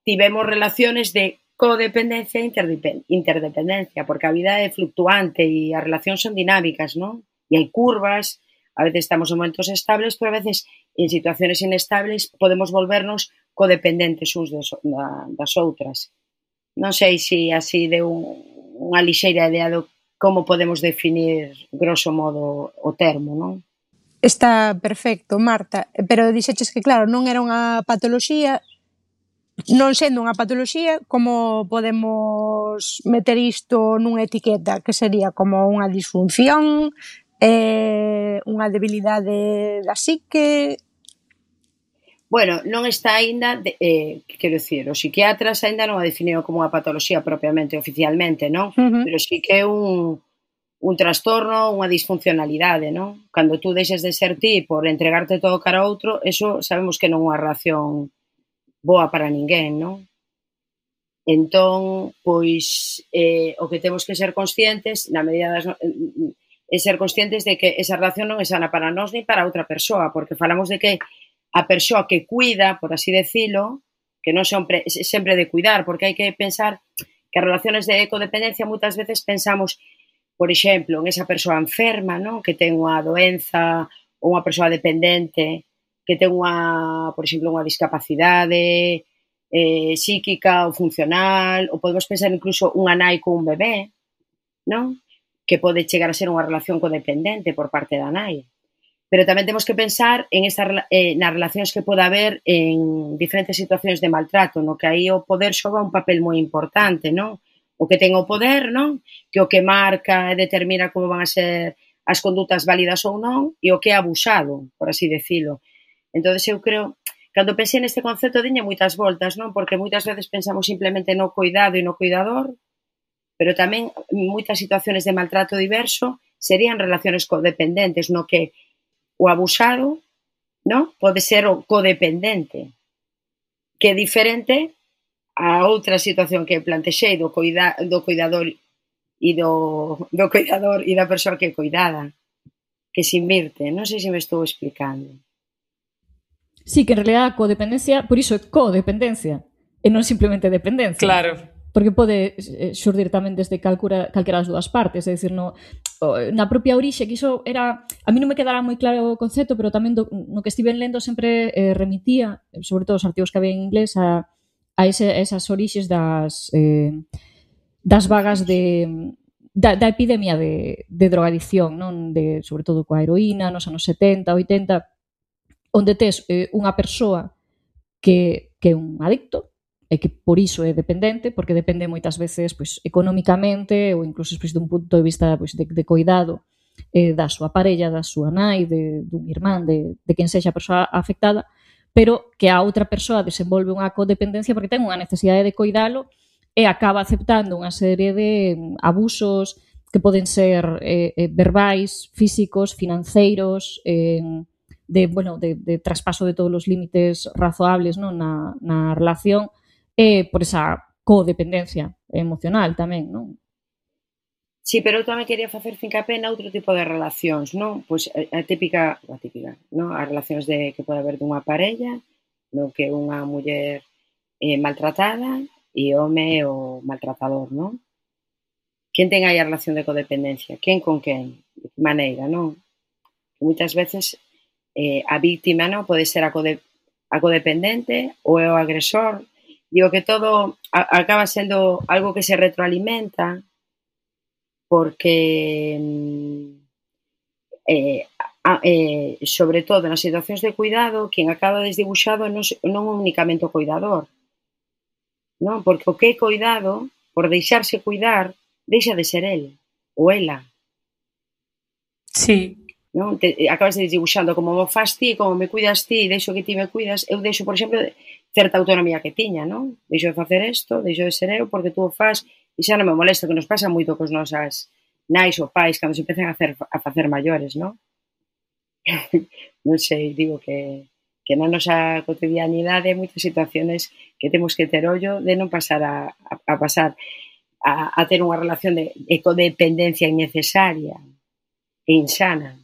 tivemos relaciones de codependencia e interdependencia, porque a vida é fluctuante e as relacións son dinámicas, non? E hai curvas, a veces estamos en momentos estables, pero a veces en situaciones inestables podemos volvernos codependentes uns das outras. Non sei se así de unha lixeira idea do como podemos definir, grosso modo, o termo, non? Está perfecto, Marta, pero dixeches que claro, non era unha patoloxía. Non sendo unha patoloxía, como podemos meter isto nunha etiqueta que sería como unha disfunción, unha debilidade da psique? Bueno, non está aínda, quero dicir, os psiquiatras aínda non a definiron como unha patoloxía propiamente, oficialmente, non? Pero sí que é un trastorno, unha disfuncionalidade, non? Cando tú deixes de ser ti por entregarte todo cara a outro, eso sabemos que non é unha relación boa para ninguén, non? Entón, pois, o que temos que ser conscientes, na medida é ser conscientes de que esa relación non é sana para nós ni para outra persoa, porque falamos de que a persoa que cuida, por así decilo, que non sempre de cuidar, porque hai que pensar que as relaciones de codependencia moitas veces pensamos, por exemplo, en esa persoa enferma, non? Que ten unha doenza ou unha persoa dependente, que ten por exemplo, unha discapacidade psíquica ou funcional, ou podemos pensar incluso unha nai con un bebé, non? Que pode chegar a ser unha relación codependente por parte da nai. Pero tamén temos que pensar nas relacións que pode haber en diferentes situacións de maltrato, no que aí o poder xoga un papel moi importante, non? O que ten o poder, non? Que o que marca e determina como van a ser as condutas válidas ou non, e o que é abusado, por así decilo. Entón, eu creo, cando pensei neste concepto, diña moitas voltas, non? Porque moitas veces pensamos simplemente no cuidado e no cuidador, pero tamén moitas situaciones de maltrato diverso serían relaciones codependentes, no que o abusado, non? Pode ser o codependente, que é diferente a outra situación que plantexei do cuidador e do cuidador e da persoa que é cuidada, que se invirte. Non sei se me estou explicando. Sí, que en realidad a codependencia, por iso é codependencia, e non simplemente dependencia. Claro. Porque pode xurdir tamén desde calquera das dúas partes, é dicir, na propia orixe, que iso era, a mí non me quedara moi claro o concepto, pero tamén no que estiven lendo sempre remitía, sobre todo os artigos que había en inglés, a esas orixes das vagas da epidemia de drogadicción, non? Sobre todo coa heroína, nos anos 70, 80, onde tes unha persoa que é un adicto e que por iso é dependente, porque depende moitas veces pois, económicamente ou incluso pois, dun punto de vista pois, de cuidado da súa parella, da súa nai, dun irmán, de quen sexa a persoa afectada, pero que a outra persoa desenvolve unha codependencia porque ten unha necesidade de cuidalo e acaba aceptando unha serie de abusos que poden ser verbais, físicos, financeiros, de traspaso de todos os límites razoables, non? Na relación, por esa codependencia emocional tamén, non? Sí, pero eu tamén quería facer fincapé na outro tipo de relacións, non? Pois a típica, non? As relacións que pode haber dunha parella, no que unha muller maltratada e home o maltratador, non? Quen ten aí a relación de codependencia? Quen con quen? De que maneira, non? Que moitas veces a víctima, non? Pode ser a codependente ou é o agresor. Digo que todo acaba sendo algo que se retroalimenta porque sobre todo nas situacións de cuidado quen acaba desdibuixado non únicamente o cuidador, non? Porque o que é cuidado, por deixarse cuidar, deixa de ser el ou ela. Sí. Non? Acabas desdibuixando como mo faz ti, como me cuidas ti, deixo que ti me cuidas, eu deixo, por exemplo, certa autonomía que tiña, non? Deixo de facer isto, deixo de ser eu porque tú o faz e xa non me molesta, que nos pasa moito cos nosas nais ou pais cando se empezan a facer maiores, non? Non sei, digo que na nosa cotidianidade hai moitas situaciones que temos que ter ollo de non pasar a pasar a ter unha relación de codependencia innecesaria e insana.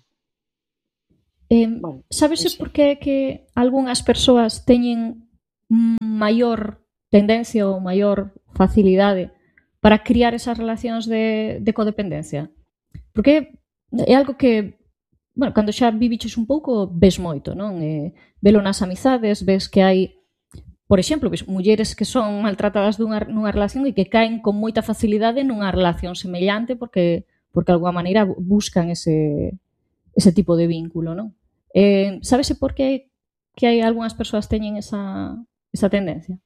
Sabese por que algunhas persoas teñen maior tendencia ou maior facilidade para criar esas relacións de codependencia? Porque é algo que, bueno, cando xa viviches un pouco, ves moito, non? Velo nas amizades, ves que hai, por exemplo, ves mulleres que son maltratadas nunha relación e que caen con moita facilidade nunha relación semellante porque de alguma maneira buscan ese tipo de vínculo, non? Sábese por que hai algunhas persoas teñen esa tendencia?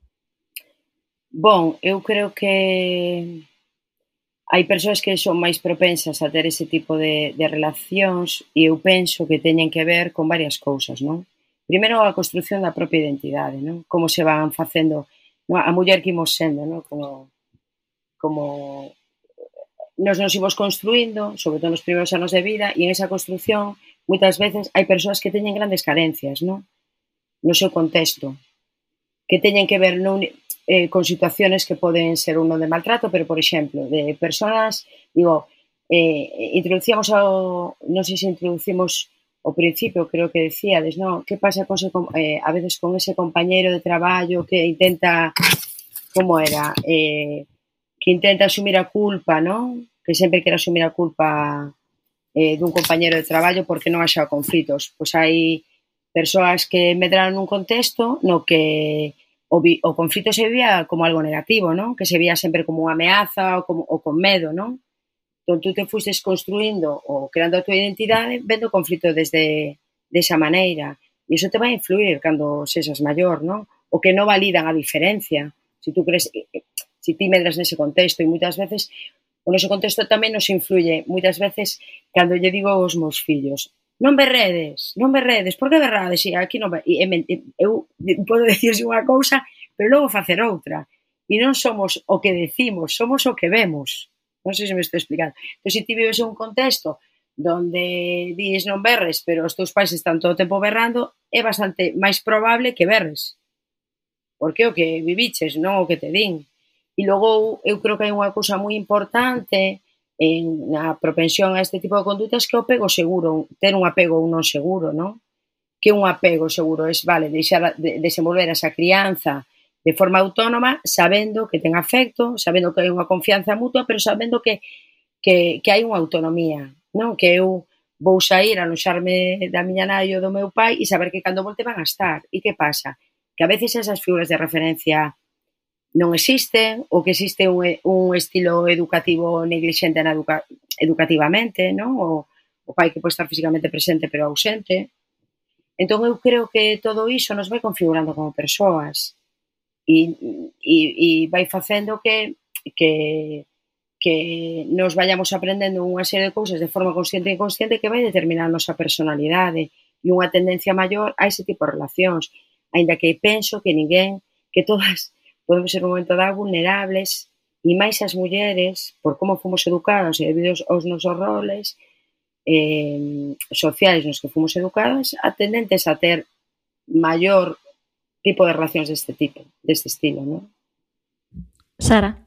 Bon, eu creo que hai persoas que son máis propensas a ter ese tipo de relacións e eu penso que teñen que ver con varias cousas, non? Primeiro, a construción da propia identidade, non? Como se van facendo, non? A muller que imos sendo, non? Como nos imos construindo, sobre todo nos primeiros anos de vida, e en esa construción, moitas veces, hai persoas que teñen grandes carencias, non? No seu contexto, que teñen que ver con situaciones que poden ser un non de maltrato, pero, por exemplo, de persoas, digo, introducíamos non sei se introducimos ao principio, creo que decíades, non? Que pasa a veces con ese compañeiro de traballo que intenta, como era? Que intenta asumir a culpa, non? Que sempre quere asumir a culpa dun compañeiro de traballo porque non haxa conflitos. Pois hai persoas que medraron nun contexto no que o conflito se vía como algo negativo, non? Que se vía sempre como unha ameaza ou con medo, non? Entón, tú te fustes construindo ou creando a tua identidade vendo o conflito desa maneira. E iso te vai influir cando sexas maior, non? O que non validan a diferencia. Se tú crees, se ti medras nese contexto, e moitas veces o noso contexto tamén nos influye. Moitas veces, cando lle digo aos meus fillos, non berredes, por que berrades? E aquí non eu podo dicirse unha cousa, pero logo facer outra. E non somos o que decimos, somos o que vemos. Non sei se me estou explicando. Entón, se ti vives en un contexto donde dis non berres, pero os teus pais están todo o tempo berrando, é bastante máis probable que berres. Porque é o que viviches, non o que te din. E logo, eu creo que hai unha cousa moi importante na propensión a este tipo de condutas que é o apego seguro, ter un apego ou non seguro, non? Que un apego seguro é, vale, deixar desenvolver esa crianza de forma autónoma, sabendo que ten afecto, sabendo que hai unha confianza mutua, pero sabendo que hai unha autonomía, non? Que eu vou sair a aloxarme da miña nai ou do meu pai e saber que cando volte van a estar. E que pasa? Que a veces esas figuras de referencia non existen, ou que existe un estilo educativo neglixente educativamente, non? O pai que pode estar físicamente presente pero ausente. Entón, eu creo que todo iso nos vai configurando como persoas e vai facendo que nos vayamos aprendendo unha serie de cousas de forma consciente e inconsciente que vai determinar a nosa personalidade e unha tendencia maior a ese tipo de relacións. Aínda que penso que todas podemos ser un momento dado vulnerables e máis as mulleres, por como fomos educadas e debido aos nosos roles sociais nos que fomos educadas, tendentes a ter maior tipo de relacións deste estilo, non? Sara?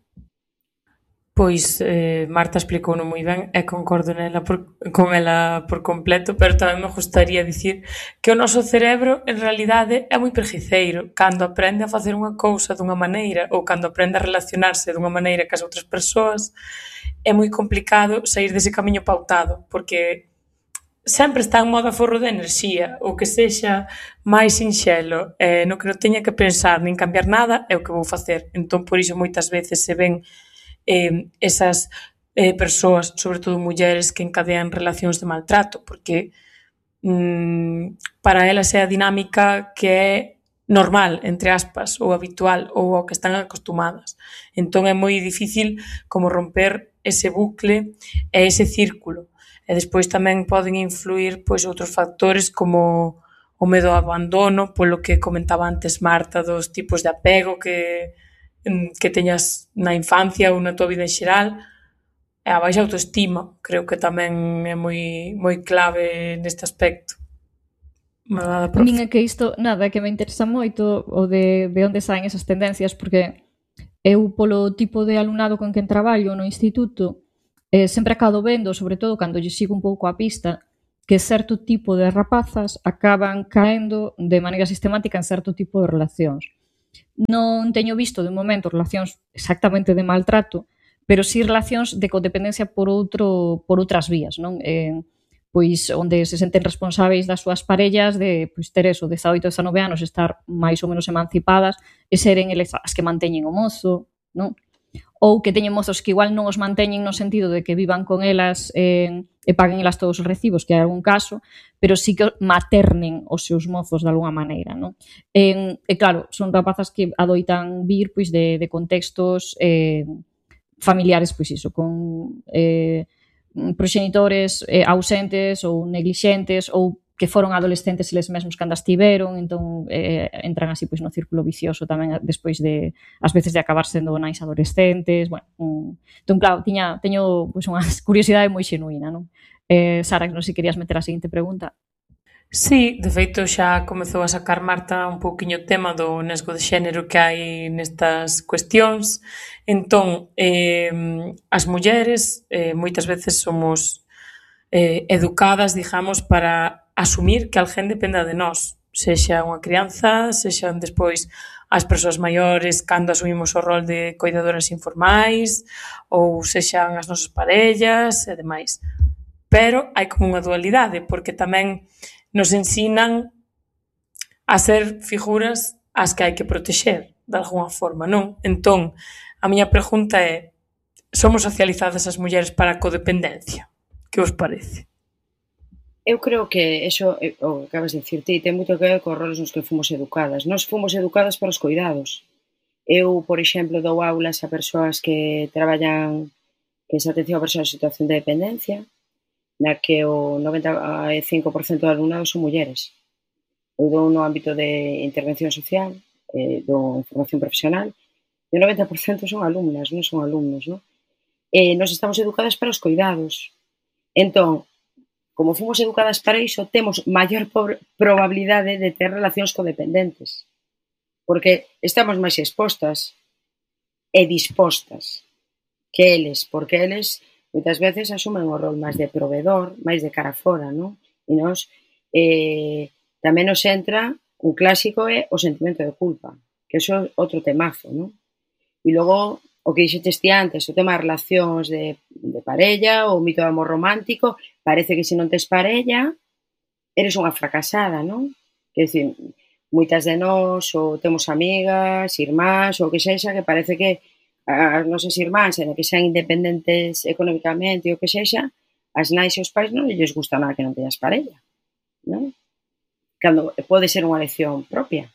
Pois Marta explicouno moi ben e concordo con ela por completo, pero tamén me gustaría dicir que o noso cerebro en realidade é moi preguiceiro. Cando aprende a facer unha cousa dunha maneira ou cando aprende a relacionarse dunha maneira que as outras persoas, é moi complicado sair dese camiño pautado, porque sempre está en modo aforro de enerxía, o que sexa máis sinxelo, no que non teña que pensar nin cambiar nada é o que vou facer. Entón, por iso moitas veces se ven esas persoas, sobre todo mulleres, que encadean relacións de maltrato, porque para elas é a dinámica que é normal, entre aspas, ou habitual, ou ao que están acostumadas. Entón é moi difícil como romper ese bucle e ese círculo. E despois tamén poden influir pois outros factores como o medo ao abandono, polo que comentaba antes Marta, dos tipos de apego que teñas na infancia ou na tua vida en xeral, e a baixa autoestima, creo que tamén é moi clave neste aspecto. A min é que isto, nada, que me interesa moito o de onde saen esas tendencias, porque eu polo tipo de alumnado con quen traballo no instituto, sempre acabo vendo, sobre todo cando lle sigo un pouco a pista, que certo tipo de rapazas acaban caendo de maneira sistemática en certo tipo de relacións. Non teño visto de momento relacións exactamente de maltrato, pero sí relacións de codependencia por outras vías, non? Pois onde se senten responsáveis das súas parellas de pois, ter eso, 18, 19 anos, estar máis ou menos emancipadas e seren eles as que manteñen o mozo, non? Ou que teñen mozos que igual non os manteñen no sentido de que vivan con elas e paguen elas todos os recibos, que hai algún caso, pero sí que maternen os seus mozos de alguna maneira, non? E claro, son rapazas que adoitan vir pois de contextos familiares, pois iso, con proxenitores ausentes ou neglixentes ou que foron adolescentes eles mesmos cando estiveron, entón entran así pois no círculo vicioso tamén despois de, ás veces, de acabar sendo nais adolescentes, bueno, entón claro, teño pois unha curiosidade moi xenuína, non? Sara, non sei se querías meter a seguinte pregunta. Sí, de feito xa comezou a sacar Marta un pouquiño o tema do nesgo de xénero que hai nestas cuestións. Entón, as mulleres moitas veces somos educadas, digamos, para asumir que alguén dependa de nós, sexa unha crianza, sexan despois as persoas maiores cando asumimos o rol de coidadoras informais, ou sexan as nosas parellas e demais. Pero hai como unha dualidade, porque tamén nos ensinan a ser figuras as que hai que protexer, de alguna forma, non? Entón, a miña pregunta é: somos socializadas as mulleres para a codependencia? Que vos parece? Eu creo que eso, o que acabas de dicir ti, ten moito que ver cos roles nos que fomos educadas. Nós fomos educadas para os cuidados. Eu, por exemplo, dou aulas a persoas que traballan, que se atención a persoas en situación de dependencia, na que o 95% do alumnado son mulleres. Eu dou no ámbito de intervención social, dou formación profesional, e o 90% son alumnas, non son alumnos, non? Nós estamos educadas para os cuidados. Entón, como fomos educadas para iso, temos maior probabilidade de ter relacións codependentes, porque estamos máis expostas e dispostas que eles, porque eles moitas veces asumen o rol máis de provedor, máis de cara fora, non? E nos tamén nos entra un clásico é o sentimento de culpa, que iso é outro temazo, non? E logo, o que dixetes ti antes, o tema de relacións de parella, o mito do amor romántico, parece que se non tes parella, eres unha fracasada, non? Quer dicir, moitas de nós, ou temos amigas, irmás, ou que sexa, que parece que as nosas irmáns, en que sean independentes económicamente, ou que sexa, as nais e os pais non lles gusta nada que non teñas parella, non? Cando pode ser unha elección propia.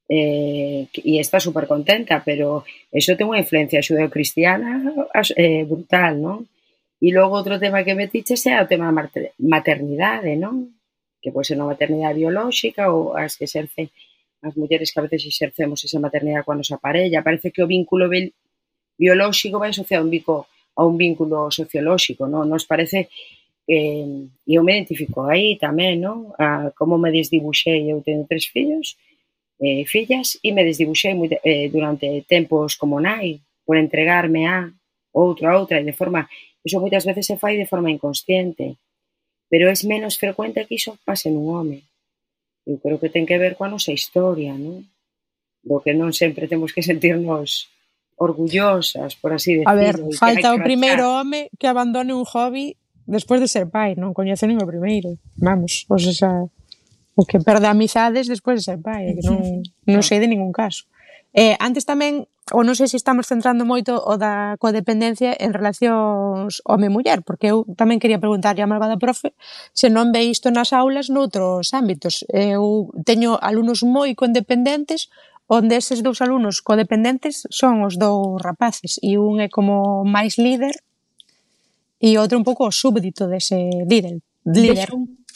E está super contenta, pero eso ten unha influencia xudeocristiana brutal, non? E logo outro tema que metiches é o tema da maternidade, non? Que pode ser unha maternidade biolóxica ou as que exercen as mulleres que a veces exercemos esa maternidade coa nosa parella. Parece que o vínculo biolóxico vai asociado a un vínculo sociolóxico, non? Nos parece, e eu me identifico aí tamén, non? Como me desdibuxei, eu teño 3 fillos, fillas, e me desdibuxei durante tempos como nai, por entregarme a outra, e de forma... Iso moitas veces se fai de forma inconsciente, pero é menos frecuente que iso pase nun home. Eu creo que ten que ver coa nosa historia, non? Do que non sempre temos que sentirnos orgullosas, por así decirlo. A ver, falta o primeiro home que abandone un hobby despois de ser pai, non coñece nin o primeiro. Vamos, o sea, o que perde amizades despois de ser pai, que non sei de ningún caso. Antes tamén, ou non sei se estamos centrando moito o da codependencia en relacións home-muller, porque eu tamén quería preguntarlle a malvada profe se non ve isto nas aulas noutros ámbitos. Eu teño alumnos moi condependentes, onde eses 2 alumnos codependentes son os 2 rapaces, e un é como máis líder e outro un pouco o súbdito dese líder.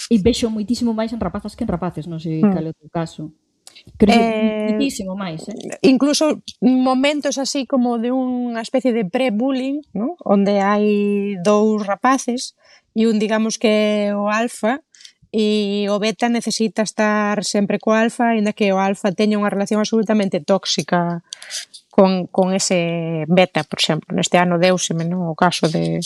E vexo moitísimo máis en rapazas que en rapaces, non sei cal é o teu caso. Creo que muitísimo máis, incluso momentos así como de unha especie de pre-bullying, ¿no? Onde hai 2 rapaces e un, digamos, que é o alfa e o beta necesita estar sempre co alfa, ainda que o alfa teña unha relación absolutamente tóxica con ese beta, por exemplo. Neste ano deuseme, non? O caso de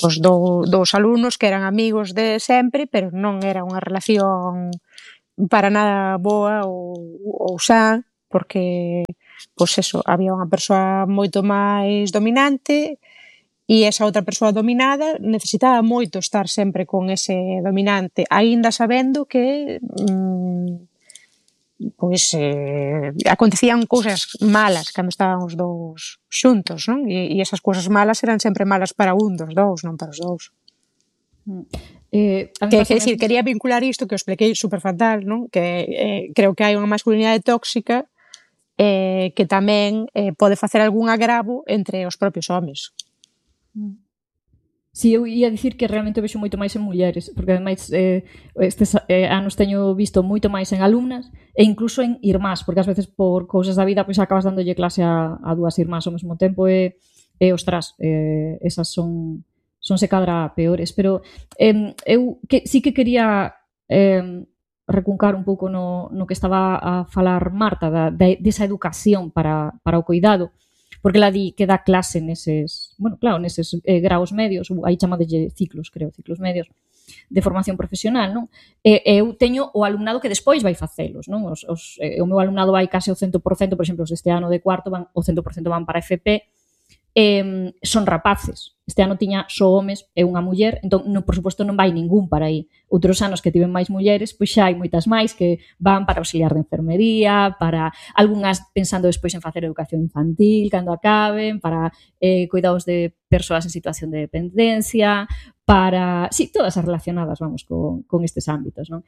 os 2 alumnos que eran amigos de sempre, pero non era unha relación para nada boa ou xa, porque, pois eso, había unha persoa moito máis dominante e esa outra persoa dominada necesitaba moito estar sempre con ese dominante, aínda sabendo que pois acontecían cousas malas cando estaban os dous xuntos, non? E esas cousas malas eran sempre malas para un dos dous, non para os dous. Quer dicir, quería vincular isto que os expliquei super fatal, non? Que creo que hai unha masculinidade tóxica que tamén pode facer algún agravo entre os propios homes. Si, eu ia dicir que realmente vexo moito máis en mulleres, porque ademais estes anos teño visto moito máis en alumnas e incluso en irmás, porque ás veces por cousas da vida pois acabas dándolle clase a dúas irmás ao mesmo tempo e ostras, esas sonse cadra peores, pero eu sí que quería recuncar un pouco no que estaba a falar Marta desa educación para o cuidado, porque ela di que dá clase neses graos medios, aí chamadelle ciclos medios de formación profesional, non? Eu teño o alumnado que despois vai facelos, non? O meu alumnado vai case o 100%, por exemplo, os deste ano de cuarto o 100% van para FP, son rapaces. Este ano tiña só homes e unha muller, entón, por suposto, non vai ningún para aí. Outros anos que tiven máis mulleres, pois xa hai moitas máis que van para auxiliar de enfermería, para algunhas pensando despois en facer educación infantil cando acaben, para cuidados de persoas en situación de dependencia, para... Sí, todas as relacionadas, vamos, con estes ámbitos, non?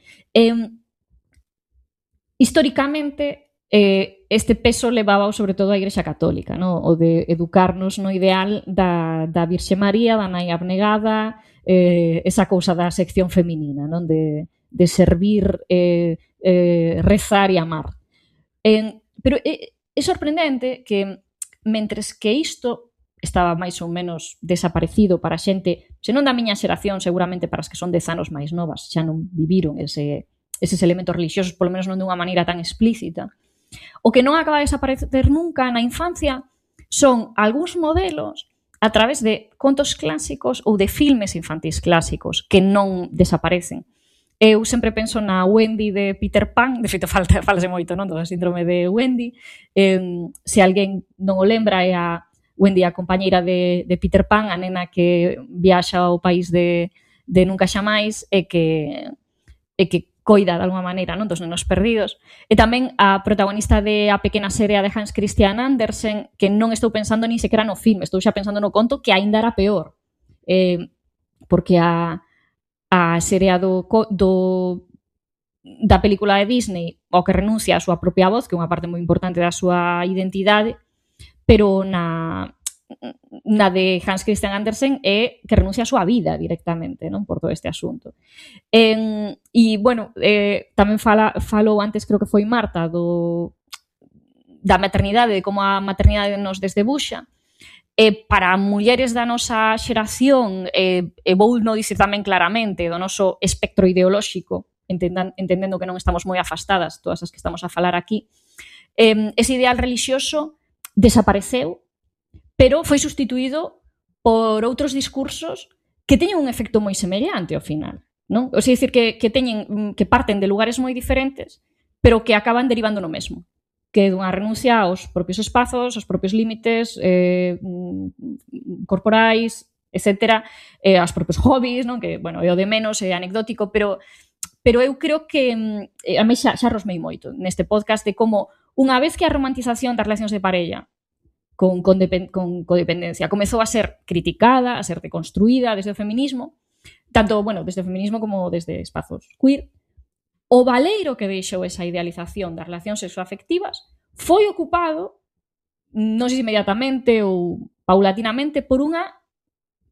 Históricamente, este peso levaba sobre todo a Igrexa Católica, no? O de educarnos no ideal da Virxe María, da nai abnegada, esa cousa da sección feminina, non? De servir, rezar e amar. Pero é sorprendente que, mentres que isto estaba máis ou menos desaparecido para a xente, se non da miña xeración, seguramente para as que son 10 anos máis novas, xa non viviron eses elementos religiosos, polo menos non de unha maneira tan explícita. O que non acaba de desaparecer nunca na infancia son algúns modelos a través de contos clásicos ou de filmes infantís clásicos que non desaparecen. Eu sempre penso na Wendy de Peter Pan, de feito falase moito, non? Do síndrome de Wendy. Se alguén non o lembra, é a Wendy, a compañeira de Peter Pan, a nena que viaxa ao país de Nunca Xamais e que coida de alguma maneira, non, dos nenos perdidos. E tamén a protagonista de A pequena serea de Hans Christian Andersen, que non estou pensando nin sequera no filme, estou xa pensando no conto, que aínda era peor. Porque a serea da película de Disney, ao que renuncia a súa propia voz, que é unha parte moi importante da súa identidade, pero na de Hans Christian Andersen é que renuncia a súa vida directamente, non, por todo este asunto. E, bueno, tamén falou antes, creo que foi Marta, da maternidade, de como a maternidade nos desdebuxa. Para mulleres da nosa xeración, e vou non dicir tamén claramente do noso espectro ideolóxico, entendendo que non estamos moi afastadas todas as que estamos a falar aquí, ese ideal relixioso desapareceu, pero foi sustituído por outros discursos que teñen un efecto moi semellante ao final, non? O sea, dicir que parten de lugares moi diferentes, pero que acaban derivando no mesmo, que é unha renuncia aos propios espazos, aos propios límites corporais, etcétera, aos propios hobbies, non? Que, bueno, é o de menos, é anecdótico, pero eu creo que a mí xa rosmei moito neste podcast de como unha vez que a romantización das relacións de parella con codependencia comezou a ser criticada, a ser deconstruída desde o feminismo, tanto, bueno, desde o feminismo como desde espazos queer, o valeiro que deixou esa idealización das relacións sexoafectivas foi ocupado, non sei se inmediatamente ou paulatinamente, por unha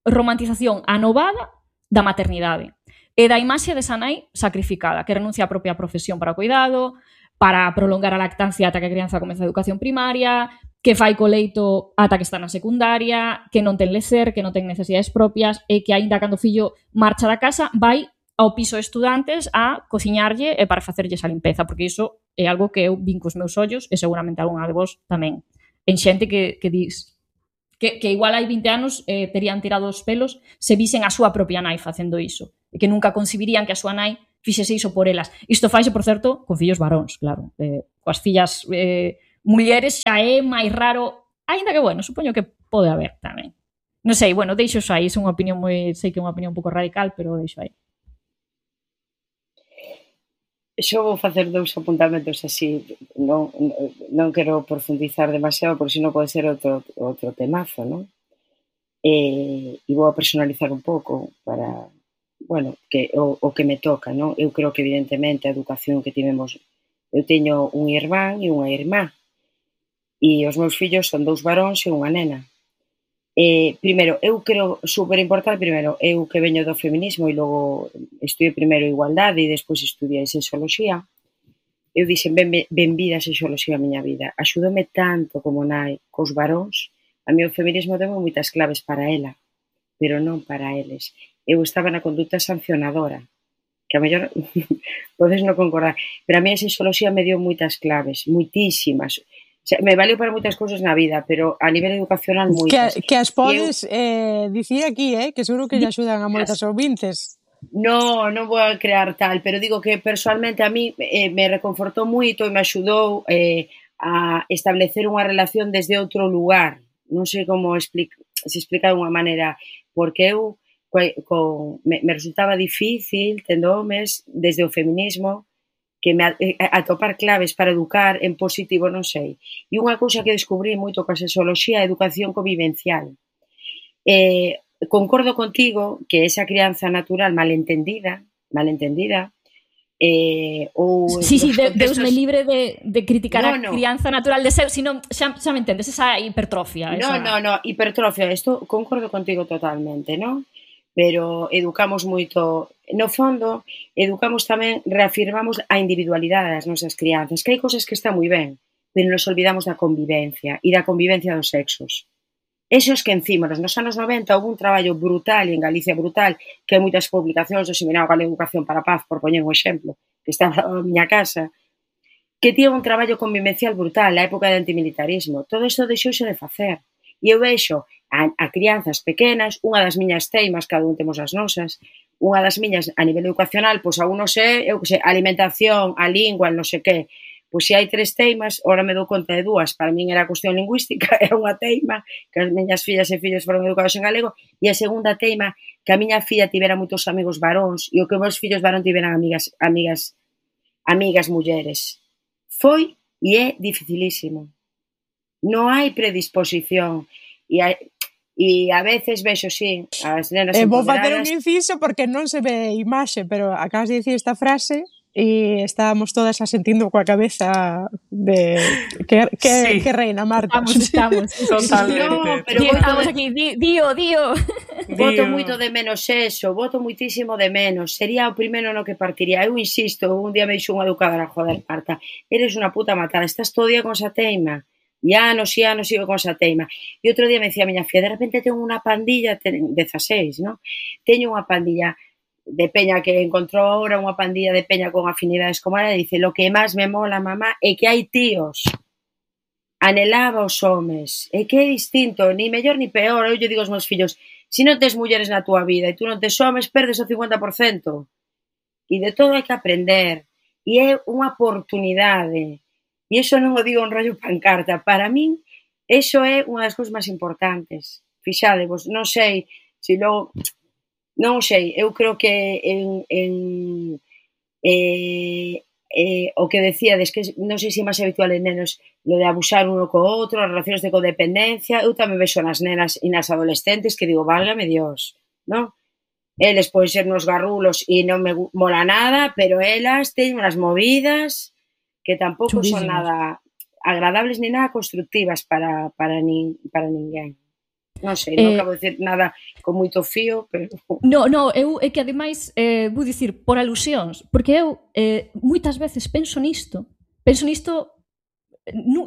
romantización anovada da maternidade e da imaxe desa nai sacrificada, que renuncia á propia profesión para o cuidado, para prolongar a lactancia ata que a crianza comeza a educación primaria, que fai co leito ata que está na secundaria, que non ten lecer, que non ten necesidades propias e que aínda cando o fillo marcha da casa vai ao piso de estudantes a cociñarlle e para facerlle esa limpeza, porque iso é algo que eu vin cos meus ollos e seguramente algunha de vos tamén. En xente que dis que igual hai 20 anos terían tirado os pelos se visen a súa propia nai facendo iso e que nunca concibirían que a súa nai fixese iso por elas. Isto faise, por certo, con fillos varóns, claro. coas fillas mulleres xa é máis raro, aínda que, bueno, supoño que pode haber tamén. Non sei, bueno, deixo xo aí, é unha opinión sei que é unha opinión un pouco radical, pero deixo aí. Xo vou facer 2 apuntamentos así, non quero profundizar demasiado, porque senón pode ser outro temazo, non? E vou a personalizar un pouco para, bueno, que o que me toca, non? Eu creo que evidentemente a educación que tivemos, eu teño un irmán e unha irmá, e os meus fillos son 2 varóns e unha nena. Primeiro, eu creo super importante, primeiro, eu que veño do feminismo e logo estudiei primeiro igualdade e despois estudiei sexoloxía, eu dixen, benvida a sexoloxía a miña vida, axudoume tanto como nai cos varóns, a mí o feminismo deu moitas claves para ela, pero non para eles. Eu estaba na conduta sancionadora, que a mellor podes non concordar, pero a mí a sexoloxía me deu moitas claves, moitísimas. O sea, me valeu para moitas cousas na vida, pero a nivel educacional moitas. Que as podes dicir aquí, que seguro que lle axudan a moitas ouvintes. Non vou a crear tal, pero digo que personalmente a mí me reconfortou moito e me axudou a establecer unha relación desde outro lugar. Non sei como se explica de unha maneira, porque eu me resultaba difícil tendo homes desde o feminismo que me atopar claves para educar en positivo, non sei. E unha cousa que descubrí moito coa sexoloxía é a educación convivencial. Concordo contigo que esa crianza natural malentendida, ou... Sí, Deus me libre de criticar a crianza natural de ser, sino xa me entendes, esa hipertrofia. No, hipertrofia, isto concordo contigo totalmente, non? Pero educamos moito, no fondo, educamos tamén, reafirmamos a individualidade das nosas crianzas, que hai cousas que están moi ben, pero nos olvidamos da convivencia e da convivencia dos sexos. Esos que encima, nos anos 90, houve un traballo brutal, e en Galicia brutal, que hai moitas publicacións do Seminario Galego de Educación para a Paz, por poñer un exemplo, que está na miña casa, que tiña un traballo convivencial brutal na época de antimilitarismo. Todo isto deixouse de facer. E eu vexo a crianzas pequenas, unha das miñas teimas, cada un temos as nosas, unha das miñas a nivel educacional, pois a uno sei, eu que sei, alimentación, a lingua, non sei que, pois se hai 3 teimas, ora me dou conta de 2, para min era cuestión lingüística, era unha teima, que as miñas fillas e fillos foron educados en galego, e a segunda teima, que a miña filla tivera moitos amigos varóns, e o que os meus fillos varón tiveran amigas mulleres. Foi e é dificilísimo. Non hai predisposición, e a veces vexo, sí, as nenas empoderadas... Vou facer un inciso porque non se ve imaxe, pero acabas de dicir esta frase e estábamos todas asentindo coa cabeza de que reina, Marta. Estamos. Totalmente. No, pero estamos aquí, Dio. Voto moito de menos eso, voto moitísimo de menos. Sería o primeiro no que partiría. Eu insisto, un día me dixo unha educadora, joder, Marta, eres unha puta matada, estás todo día con esa teima. E anos sigo con esa teima. E outro día me decía a miña filla, de repente teño unha pandilla, 16, non? Teño unha pandilla de peña que encontrou ahora, unha pandilla de peña con afinidades como ela, e dice, lo que máis me mola, mamá, é que hai tíos. Anhelaba os homes. É que é distinto, ni mellor ni peor. Eu lle digo aos meus fillos, se non tes mulleres na túa vida e tú non tes homes, perdes o 50%. E de todo hai que aprender. E é unha oportunidade. E iso non o digo en rollo pancarta. Para min, iso é unha das cousas máis importantes. Fixadevos, non sei se logo... Non sei, eu creo que o que decíades, que non sei se é máis habitual en nenos lo de abusar uno co outro, as relacións de codependencia, eu tamén vexo nas nenas e nas adolescentes que digo, válgame Dios, non? Eles poden ser nos garrulos e non me mola nada, pero elas teñen unhas movidas que tampouco son nada agradables ni nada constructivas para ninguén. Non sei, non acabo de dicir nada con moito fío, pero... No, eu é que ademais vou dicir por alusións, porque eu moitas veces penso nisto,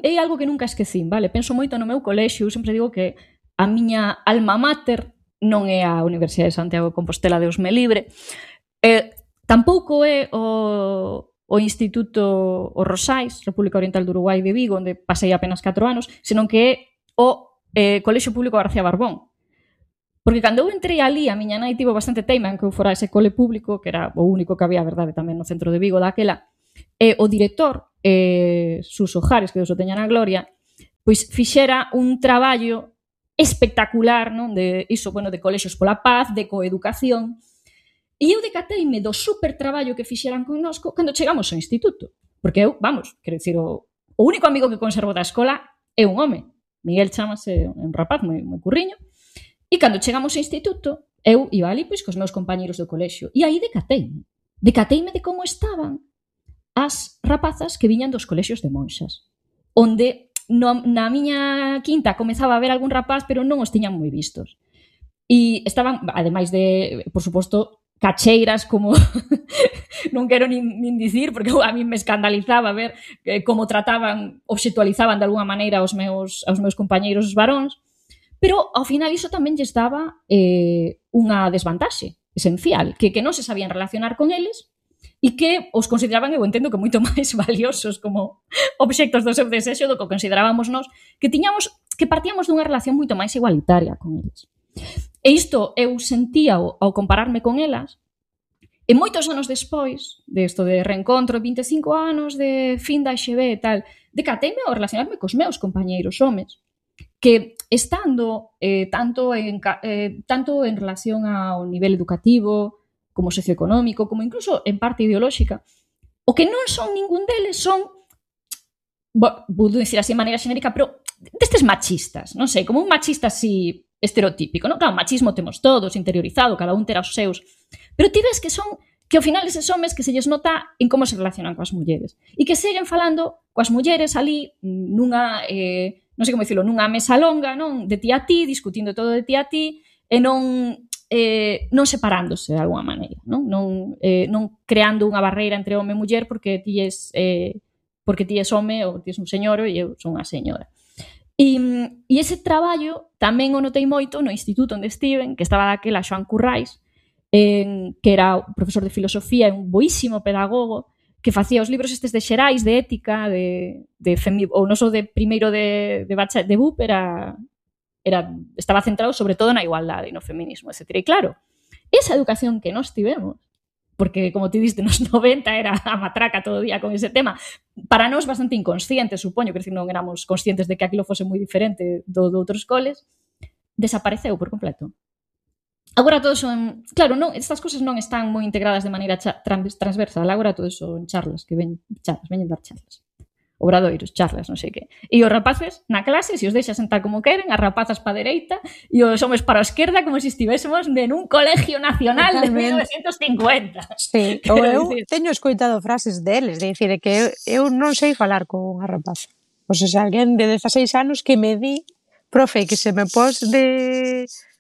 é algo que nunca esquecín, vale? Penso moito no meu colexio, eu sempre digo que a miña alma mater non é a Universidade de Santiago de Compostela, Deus me libre, tampouco é o Instituto Os Rosais, República Oriental do Uruguai de Vigo, onde pasei apenas 4 anos, senón que é o Colexio Público García Barbón. Porque cando eu entrei ali, a miña nai tivo bastante teima en que eu fora ese cole público, que era o único que había, verdade, tamén no centro de Vigo daquela, o director Sus Ojares, que Deus o teña na gloria, pois fixera un traballo espectacular, non? De iso, bueno, de colexios pola paz, de coeducación. E eu decateime do super traballo que fixeran connosco cando chegamos ao instituto. Porque eu, vamos, quero dicir, o único amigo que conservo da escola é un home. Miguel chamase un rapaz moi curriño. E cando chegamos ao instituto, eu iba ali pois cos meus compañeros do colexio. E aí decateime. Decateime de como estaban as rapazas que viñan dos colexios de monxas. Onde na miña quinta comezaba a ver algún rapaz, pero non os tiñan moi vistos. E estaban, ademais de, por suposto, cacheiras como non quero nin dicir, porque a mí me escandalizaba ver como trataban, obxectualizaban de alguna maneira aos meus compañeiros varóns, pero ao final iso tamén lles daba unha desvantaxe esencial, que non se sabían relacionar con eles e que os consideraban, eu entendo que moito máis valiosos como obxectos do seu desexo do que considerábamos nós, que partíamos dunha relación moito máis igualitaria con eles. E isto eu sentía ao compararme con elas, e moitos anos despois desto de reencontro, 25 anos de fin da XB e tal, decateime ao relacionarme cos meus compañeiros homes, que estando tanto en relación ao nivel educativo, como socioeconómico, como incluso en parte ideolóxica, o que non son ningún deles son, vou dicir así de maneira xenérica, pero destes machistas, non sei, como un machista así estereotípico, non? Claro, machismo temos todos interiorizado, cada un terá os seus, pero ti ves que ao final eses homes que se lles nota en como se relacionan coas mulleres e que seguen falando coas mulleres ali nunha, non sei como dicilo, nunha mesa longa, non? De ti a ti, discutindo todo de ti a ti e non separándose de alguma maneira, non creando unha barreira entre home e muller porque ti és home ou ti és un señor e eu son unha señora. E ese traballo tamén o notei moito no instituto onde estiven, que estaba daquela Xoán Currais, que era profesor de filosofía e un boísimo pedagogo, que facía os libros estes de xerais, de ética, ou non só de primeiro de BUP, estaba centrado sobre todo na igualdade e no feminismo, etc. E claro, esa educación que nós tivemos, porque, como ti diste, nos 90 era a matraca todo o día con ese tema, para nós bastante inconsciente, supoño, que non éramos conscientes de que aquilo fose moi diferente do outros coles, desapareceu por completo. Agora todo son... Claro, estas cosas non están moi integradas de maneira transversal, agora todo son charlas, veñen dar charlas. Obradoiros, charlas, non sei que. E os rapaces na clase, se os deixa sentar como queren, as rapazas pa dereita e os homes para a esquerda, como se estivésemos en un colegio nacional de 1950. Sí, ou eu teño escoitado frases deles, de dicir que eu non sei falar con unha rapaza. Pois se alguén de 16 anos que me di, profe, que se me pos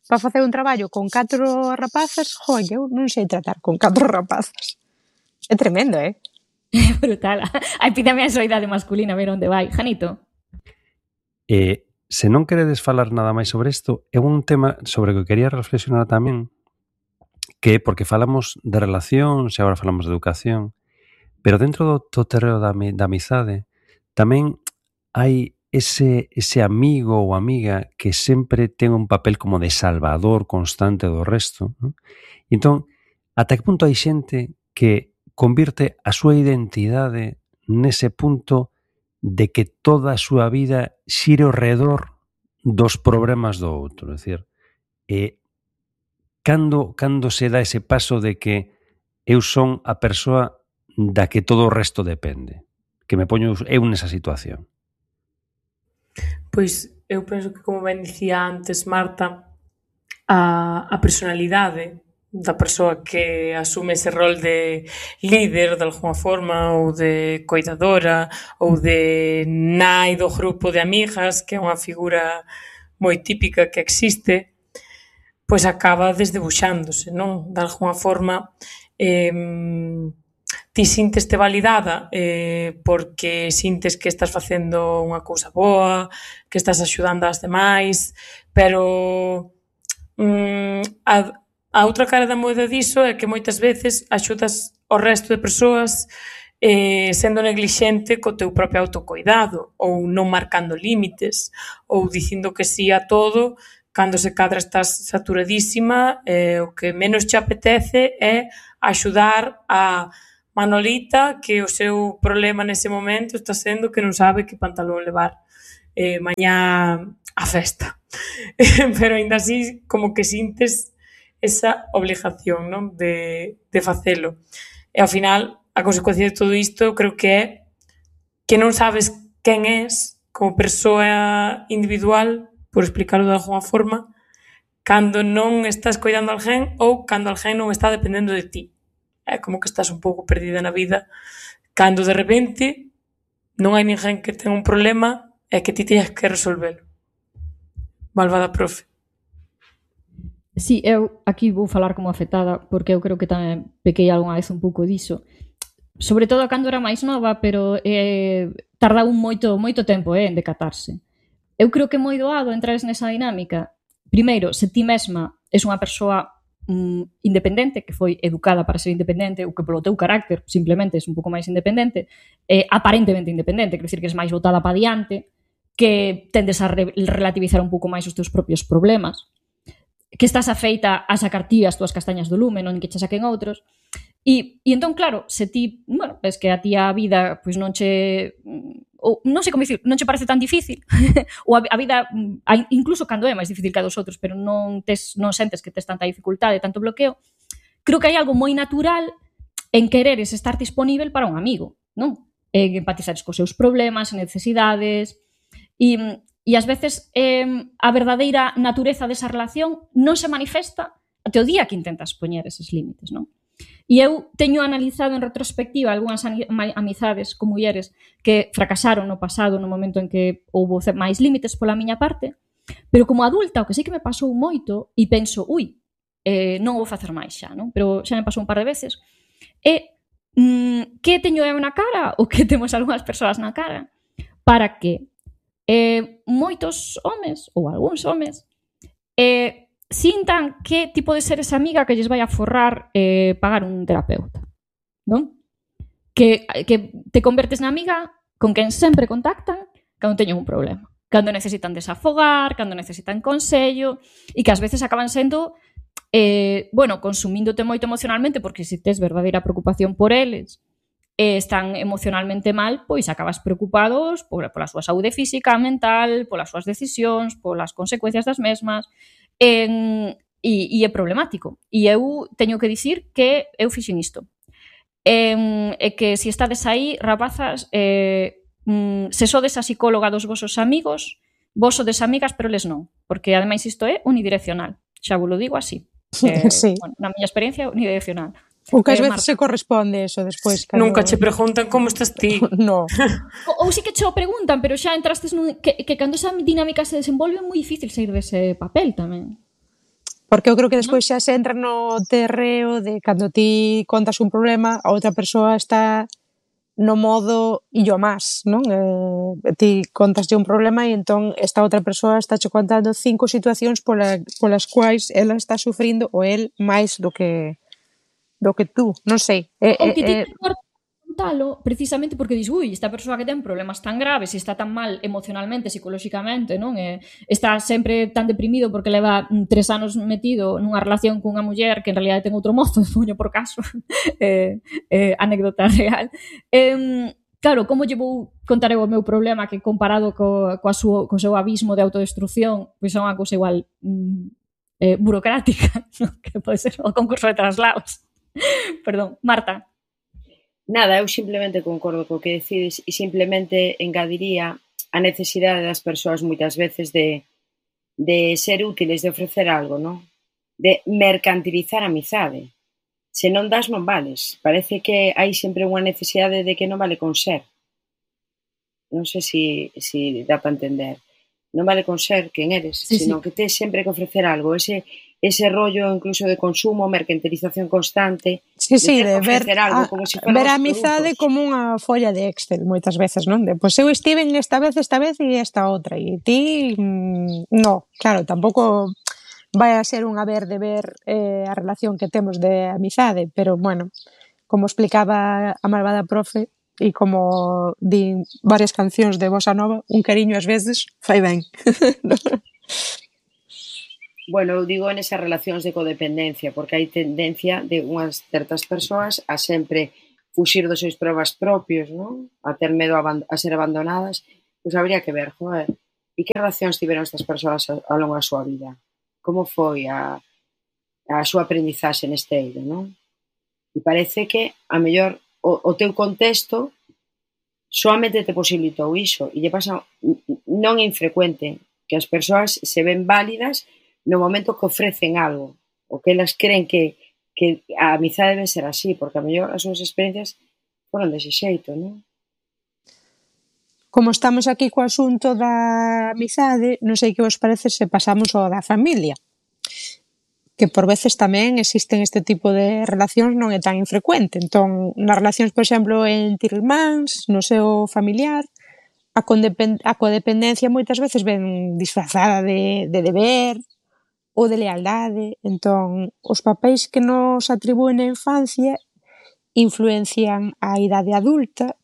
para facer un traballo con 4 rapazas, eu non sei tratar con 4 rapazas. É tremendo, Brutal. A epidemia de soidade masculina, ver onde vai. Janito? Se non queredes falar nada máis sobre isto, é un tema sobre o que quería reflexionar tamén, que porque falamos de relacións e agora falamos de educación, pero dentro do terreo da amizade tamén hai ese amigo ou amiga que sempre ten un papel como de salvador constante do resto, non? Entón, ata que punto hai xente que convirte a súa identidade nese punto de que toda a súa vida xire ao redor dos problemas do outro. É dicir, cando se dá ese paso de que eu son a persoa da que todo o resto depende, que me poño eu nesa situación. Pois eu penso que, como ben dicía antes Marta, a personalidade da persoa que asume ese rol de líder de alguma forma ou de coidadora ou de nai do grupo de amigas, que é unha figura moi típica que existe, pois acaba desdebuxándose, non? De alguma forma ti sinteste validada porque sintes que estás facendo unha cousa boa, que estás axudando ás demais, pero a outra cara da moeda diso é que moitas veces axudas ao resto de persoas sendo neglixente co teu propio autocoidado ou non marcando límites ou dicindo que sí a todo cando se cadra estás saturadísima, o que menos te apetece é axudar a Manolita que o seu problema nese momento está sendo que non sabe que pantalón levar mañá a festa. Pero aínda así como que sintes esa obligación, non? De facelo. E ao final, a consecuencia de todo isto creo que é que non sabes quen és como persoa individual, por explicarlo de alguna forma, cando non estás coidando a alguén ou cando alguén non está dependendo de ti. É como que estás un pouco perdida na vida cando de repente non hai ninguén que ten un problema e que ti teñas que resolvelo. Malvada profe. Sí, eu aquí vou falar como afectada porque eu creo que tamén pequei algunha vez un pouco diso. Sobre todo cando era máis nova, pero tardaba moito tempo en decatarse. Eu creo que é moi doado entrar nesa dinámica. Primeiro, se ti mesma és unha persoa independente, que foi educada para ser independente, ou que polo teu carácter simplemente és un pouco máis independente, aparentemente independente, quer dizer que és máis botada para diante, que tendes a relativizar un pouco máis os teus propios problemas, que estás afeita a sacar ti as túas castañas do lume, non que che saquen outros. E entón, claro, se ti, bueno, es que a ti a vida pois non che, ou non sei como dicir, non che parece tan difícil, ou a vida, incluso cando é máis difícil que a dos outros, pero non sentes que tes tanta dificultade, tanto bloqueo, creo que hai algo moi natural en quereres estar disponível para un amigo, non? En empatizares cos seus problemas, necesidades, e ás veces a verdadeira natureza desa relación non se manifesta até o día que intentas poñer eses límites, non? E eu teño analizado en retrospectiva algunhas amizades con mulleres que fracasaron no pasado no momento en que houbo máis límites pola miña parte, pero como adulta o que sí que me pasou moito e penso, non vou facer máis xa, non? Pero xa me pasou un par de veces, que teño eu na cara ou que temos algunhas persoas na cara para que moitos homes ou algúns homes sintan que tipo de ser esa amiga que lles vai a forrar pagar un terapeuta, non? Que te convertes na amiga con quen sempre contactan cando teñen un problema, cando necesitan desafogar, cando necesitan consello, e que ás veces acaban sendo consumíndote moito emocionalmente, porque se tes verdadeira preocupación por eles están emocionalmente mal, pois acabas preocupados pola súa saúde física, mental, polas súas decisións, polas consecuencias das mesmas, e é problemático. E eu teño que dicir que eu fixen isto. E que se estades aí, rapazas, se sodes a psicóloga dos vosos amigos, vos sodes amigas, pero eles non. Porque, ademais, isto é unidireccional. Xa vos lo digo así. Sí. Bueno, na miña experiencia, unidireccional. O que ás veces se corresponde eso despois. Nunca che preguntan como estás ti. No. Ou sí que che o preguntan, pero xa entrastes que cando esa dinámica se desenvolve é moi difícil sair dese papel tamén. Porque eu creo que despois xa se entra no terreo de cando ti contas un problema, a outra persoa está no modo illo más, non? Ti contaslle un problema e entón esta outra persoa está che contando 5 situacións polas quais ela está sufrindo ou el máis do que tú, non sei. Ou que ti te cortas contalo precisamente porque dis, esta persoa que ten problemas tan graves e está tan mal emocionalmente, psicolóxicamente, non? Está sempre tan deprimido porque leva 3 anos metido nunha relación cunha muller que en realidad ten outro mozo, poño por caso, anécdota real. Claro, como lle vou contar eu o meu problema que comparado co seu abismo de autodestrucción, pois é unha cousa igual burocrática, non? Que pode ser o concurso de traslados. Perdón, Marta. Nada, eu simplemente concordo co que decides e simplemente engadiría a necesidade das persoas moitas veces de ser útiles, de ofrecer algo, non? De mercantilizar a amizade. Se non das, non vales. Parece que hai sempre unha necesidade de que non vale con ser. Non sei se dá para entender. Non vale con ser quen eres, sino que tes sempre que ofrecer algo. Ese rollo incluso de consumo, mercantilización constante, de ver algo, como si ver a amizade como unha folla de Excel moitas veces, non? Pois eu estive esta vez e esta outra, e ti no, claro, tampouco vai a ser un haber de ver a relación que temos de amizade, pero bueno, como explicaba a malvada profe e como di varias cancións de bossa nova, un cariño ás veces fai ben. Bueno, eu digo nesas relacións de codependencia, porque hai tendencia de unhas certas persoas a sempre fuxir dos seus problemas propios, non? A ter medo a ser abandonadas, pois habría que ver, joder, e que relacións tiveron estas persoas ao longo da súa vida? Como foi a súa aprendizaxe neste eido, non? E parece que, a mellor, o teu contexto soamente te posibilitou iso, e lle pasa, non é infrecuente, que as persoas se ven válidas no momento que ofrecen algo, o que elas creen que a amizade debe ser así, porque a mellor as súas experiencias foron dese xeito, non? Como estamos aquí co asunto da amizade, non sei que vos parece se pasamos ao da familia, que por veces tamén existen este tipo de relacións, non é tan infrecuente. Entón, nas relacións, por exemplo, entre irmáns, no seu familiar, a codependencia moitas veces ven disfrazada de deber ou de lealdade. Entón, os papéis que nos atribúen na infancia influencian a idade adulta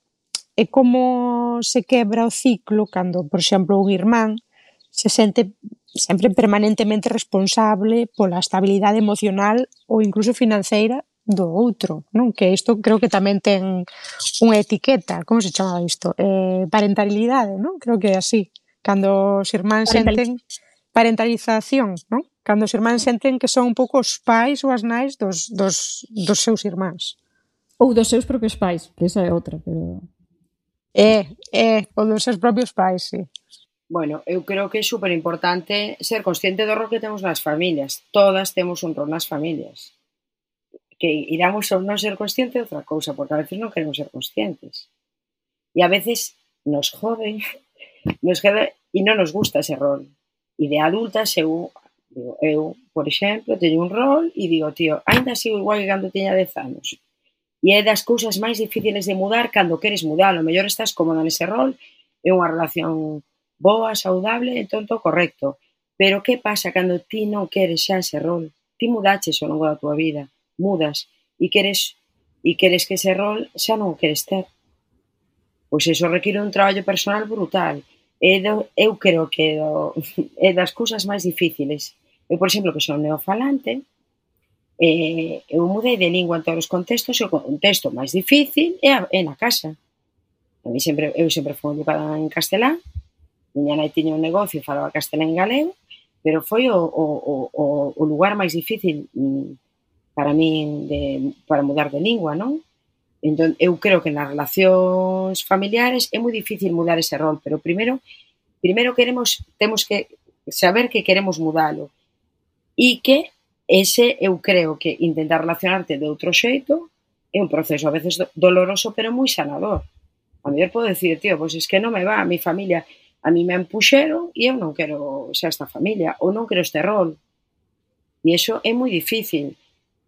e como se quebra o ciclo cando, por exemplo, un irmán se sente sempre permanentemente responsable pola estabilidade emocional ou incluso financeira do outro, non? Que isto creo que tamén ten unha etiqueta, como se chamaba isto? Parentalidade, non? Creo que é así. Cando os irmáns senten parentalización, non? Cando os irmáns senten que son un pouco os pais ou as nais dos seus irmáns. Ou dos seus propios pais, que esa é outra, pero... O dos seus propios pais, sí. Bueno, eu creo que é super importante ser consciente do rol que temos nas familias. Todas temos un rol nas familias. Que iramos ou non ser consciente de outra cousa, porque a veces non queremos ser conscientes. E a veces nos joden, e non nos gusta ese rol. E de adultas eu, por exemplo, teño un rol e digo, tío, ainda sigo igual que cando teña 10 anos. E é das cousas máis difíciles de mudar cando queres mudar. O mellor estás cómoda nese rol, é unha relación boa, saudable, entón todo correcto. Pero que pasa cando ti non queres xa ese rol? Ti mudaches ao longo da tua vida, mudas, e queres que ese rol xa non o queres ter. Pois iso require un traballo personal brutal. Eu creo que é das cousas máis difíciles. Eu, por exemplo, que son neofalante, eu mudei de lingua en todos os contextos, e o contexto máis difícil é na casa. Eu sempre fui educada en castelán, miña nai tiña un negocio e falaba castelán e galego, pero foi o lugar máis difícil para min para mudar de lingua, non? Entón, eu creo que nas relacións familiares é moi difícil mudar ese rol, pero primeiro temos que saber que queremos mudalo e que ese, eu creo que intentar relacionarte de outro xeito é un proceso a veces doloroso, pero moi sanador. A mellor podo decir, tío, pois es que non me va, a mi familia, a mi me empuxeron e eu non quero xa esta familia, ou non quero este rol. E iso é moi difícil,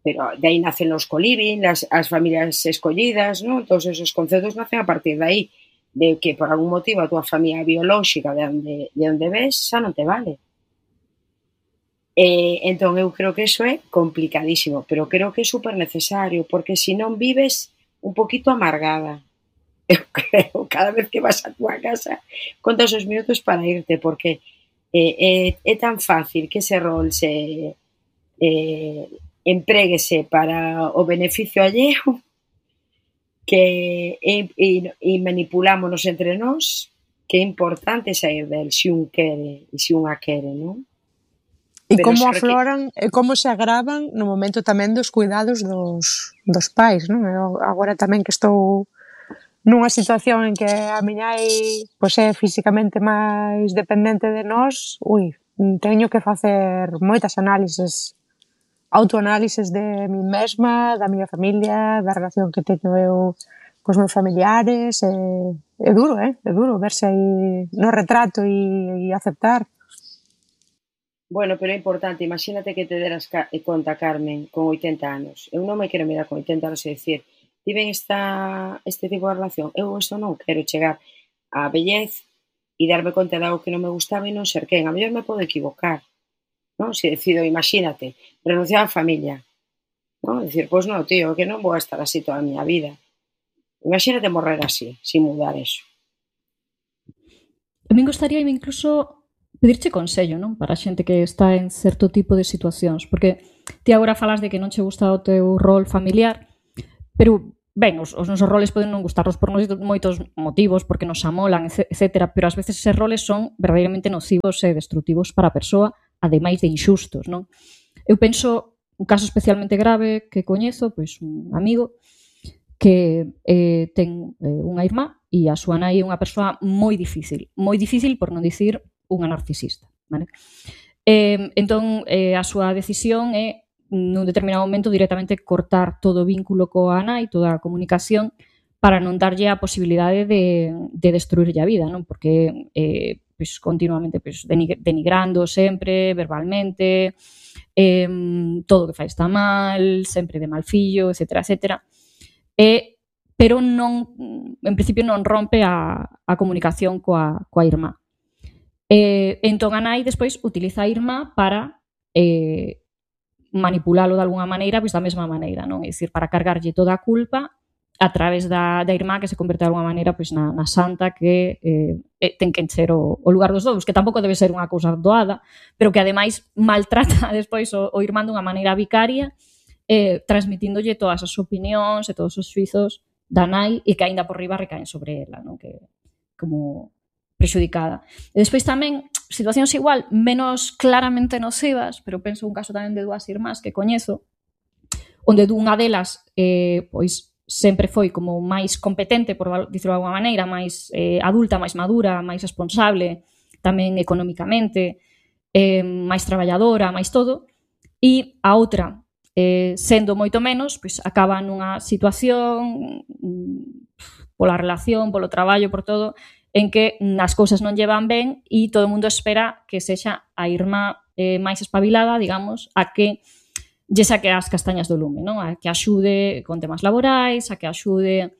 pero de aí nacen os coliving, as familias escollidas, non? Todos esos conceptos nacen a partir de aí, de que por algún motivo a túa familia biolóxica de onde ves xa non te vale. Entón, eu creo que iso é complicadísimo, pero creo que é super necesario, porque se non vives un poquito amargada. Eu creo, cada vez que vas a túa casa, contas os minutos para irte, porque é tan fácil que ese rol se empréguese para o beneficio alleo que e manipulámonos entre nós, que é importante sair del se un quere e se unha quere, non? E como afloran e como se agravan no momento tamén dos cuidados dos pais, non? Eu agora tamén que estou nunha situación en que a miña nai pois é físicamente máis dependente de nós, teño que facer moitas autoanálises de mí mesma, da miña familia, da relación que teño eu cos meus familiares, é duro, é duro verse aí no retrato e aceptar. Bueno, pero é importante, imagínate que te deras conta, Carmen, con 80 anos. Eu non me quero mirar con 80 anos e dicir, tiven este tipo de relación, eu isto non quero chegar á vellez e darme conta de algo que non me gustaba e non ser quen. A mellor me podo equivocar, non? Se decido, imagínate, renunciar á familia, non? Dicir, pois non, tío, que non vou estar así toda a miña vida. Imagínate morrer así, sin mudar eso. A min gostaríame incluso pedirche consello, non? Para a xente que está en certo tipo de situacións, porque ti agora falas de que non che gusta o teu rol familiar, pero ben, os nosos roles poden non gustarnos por moitos motivos, porque nos amolan, etc. Pero ás veces eses roles son verdadeiramente nocivos e destrutivos para a persoa, ademais de inxustos, non? Eu penso un caso especialmente grave que coñezo, pois un amigo que ten unha irmá e a súa nai é unha persoa moi difícil por non dicir unha narcisista, vale? Entón, a súa decisión é nun determinado momento directamente cortar todo o vínculo coa nai, toda a comunicación, para non darlle a posibilidade de destruirlle a vida, non? Porque pois, continuamente pois, denigrando sempre, verbalmente, todo o que fai está mal, sempre de mal fillo, etcétera, etcétera. Pero non, en principio non rompe a comunicación coa irmá. Entón a nai despois utiliza a irmá para manipulalo de alguna maneira, pois da mesma maneira, non? É dicir, para cargarlle toda a culpa a través da irmá que se converte de alguna maneira pois, na santa que ten que encher o lugar dos dous, que tampouco debe ser unha cousa doada, pero que ademais maltrata despois o irmán dunha maneira vicaria, transmitíndolle todas as opinións e todos os xuizos da nai e que aínda por riba recaen sobre ela, non? Que como prexudicada. E despois tamén situacións igual, menos claramente nocivas, pero penso un caso tamén de dúas irmás que coñezo, onde dunha delas pois sempre foi como máis competente, por dicirlo de alguma maneira, máis adulta, máis madura, máis responsable, tamén económicamente, máis traballadora, máis todo, e a outra, sendo moito menos, pois acaba nunha situación pola relación, polo traballo, por todo, en que as cousas non llevan ben e todo o mundo espera que sexa a irmá máis espabilada, digamos, a que lle saque as castañas do lume, non? A que axude con temas laborais, a que axude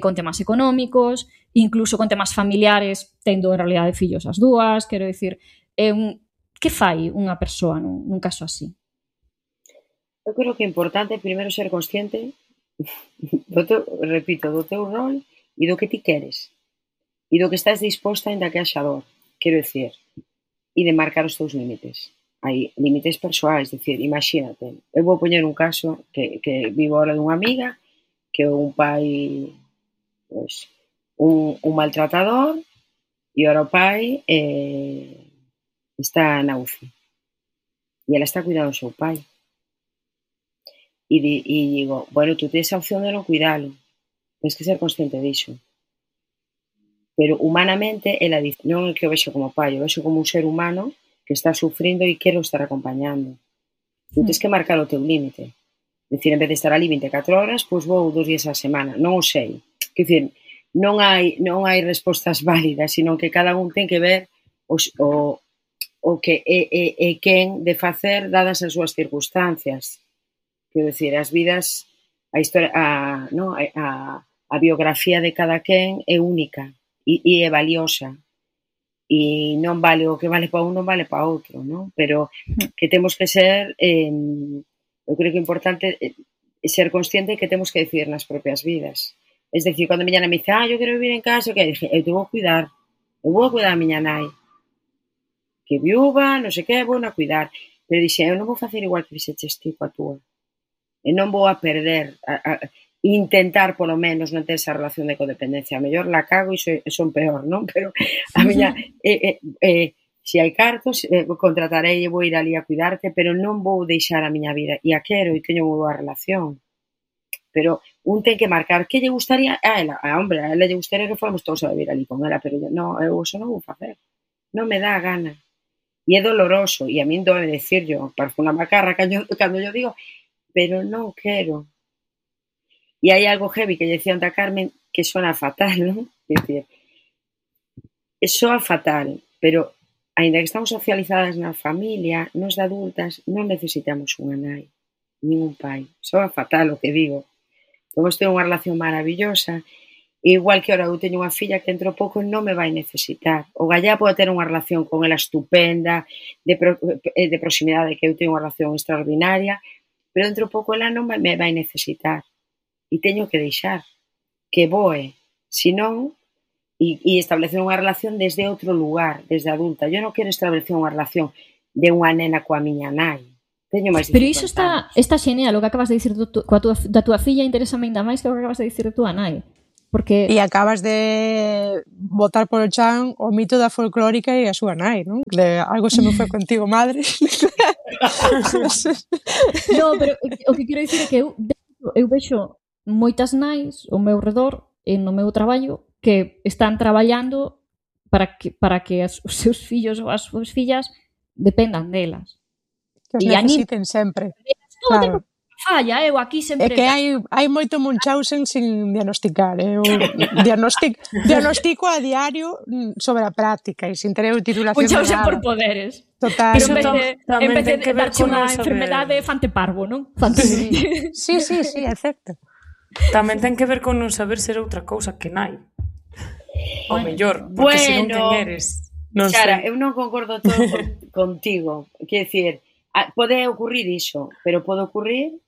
con temas económicos, incluso con temas familiares, tendo en realidade fillos as dúas, quero dicir, que fai unha persoa nun caso así? Eu creo que é importante primeiro ser consciente do teu rol e do que ti queres e do que estás disposta ainda que haxa dor, quero dicir, e de marcar os teus límites. Hai límites persoais, dicir, imagínate, eu vou poñer un caso que vivo ahora dunha amiga que é un pai pues, un maltratador e ahora o pai está na UCI e ela está cuidando do seu pai e digo, bueno, tú tens a opción de non cuidalo, tens que ser consciente disso. Pero humanamente, ela dice, non é que o vexo como pai, o vexo como un ser humano que está sufrindo e quero estar acompañando. Tú tens que marcar o teu límite. Dicir, en vez de estar ali 24 horas, pois vou 2 días á semana. Non o sei. Quer dicir, non hai respostas válidas, sino que cada un ten que ver o que é quen de facer dadas as súas circunstancias. Quero dicir, as vidas, a historia, a biografía de cada quen é única. E é valiosa e non vale o que vale para un non vale para outro, non? Pero que temos que ser eu creo que é importante ser consciente que temos que decidir nas propias vidas. Es decir, cando a miña nai me dice eu quero vivir en casa, que dije, eu te vou cuidar a miña nai que viúva, non sei que, vou a cuidar, pero dixe, eu non vou facer igual que fixeches ti coa túa e non vou a perder intentar, polo menos, non ter esa relación de codependencia. A mellor la cago e son peor, non? Pero a miña... se hai cartos, contratarei e vou ir ali a cuidarte, pero non vou deixar a miña vida. E a quero e teño unha boa relación. Pero un ten que marcar que lle gustaría a ela. A ela lle gustaría que fóramos todos a vivir ali con ela, pero non, eu eso non vou facer. Non me dá a gana. E é doloroso. E a min doe decir yo, parece unha macarra cando yo digo, pero non quero. E hai algo heavy que lle decía a Carmen que sona fatal, non? É dicir, soa fatal, pero aínda que estamos socializadas na familia, nos de adultas non necesitamos unha nai, nin un pai. Soa fatal o que digo. Podemos ter unha relación maravillosa, igual que ahora eu teño unha filla que dentro pouco non me vai necesitar. O gallá pode ter unha relación con ela estupenda, de proximidade, que eu teño unha relación extraordinaria, pero dentro pouco ela non me vai necesitar. E teño que deixar que voe, senón, e establecer unha relación desde outro lugar, desde adulta. Eu non quero establecer unha relación de unha nena coa miña nai. teño máis Pero iso está xeneal, o que acabas de dicir da túa filla, interésame ainda máis que o que acabas de dicir da túa nai. Porque... E acabas de botar polo chan o mito da folclórica e a súa nai, non? De algo se me foi contigo, madre. No, pero o que quero dicir é que eu vexo moitas nais ao meu redor e no meu traballo que están traballando para que os seus fillos ou as súas fillas dependan delas. Que os necesiten sempre. Todo claro. Tempo falla, eu aquí sempre... É que hai moito Munchausen sin diagnosticar. Eu diagnostico a diario sobre a práctica e sin ter titulación de nada. Munchausen por poderes. Total. Pero en vez de darche unha enfermedade fante parvo, non? Sí, é certo. Tamén ten que ver con non saber ser outra cousa que nai. O mellor, porque se non ten eres... Non Cara, sei. eu non concordo todo contigo. Quer dicir, pode ocurrir iso, pero pode ocurrir,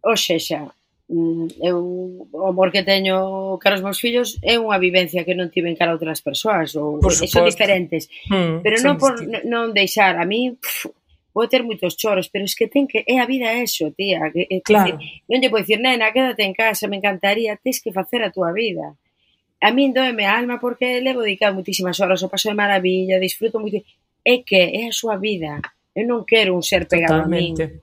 ou sexa, eu, o amor que teño cara aos meus fillos é unha vivencia que non tiven cara a outras persoas, ou son diferentes. Pero non por non deixar, a mí vou ter moitos choros, pero es que é a vida eso, tía. Claro. Non lle podo dicir, nena, quédate en casa, me encantaría, tens que facer a túa vida. A min doeme a alma porque levo dedicado moitísimas horas, o paso de maravilla, disfruto moito. É que é a súa vida. Eu non quero un ser pegado Totalmente. a min.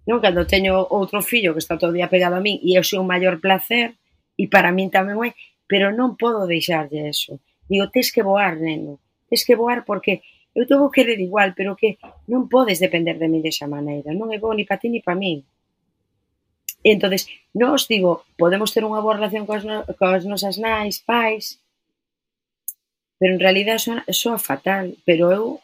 Non, cando teño outro fillo que está todo o día pegado a min e eu sou un maior placer e para min tamén é, pero non podo deixarlle eso. Digo, tes que voar, neno. Tes que voar porque eu te vou querer igual, pero que non podes depender de mí desa maneira. Non é bo ni para ti ni para min. E entonces, nos digo, podemos ter unha boa relación coas nosas nais, pais, pero en realidad soa fatal, pero eu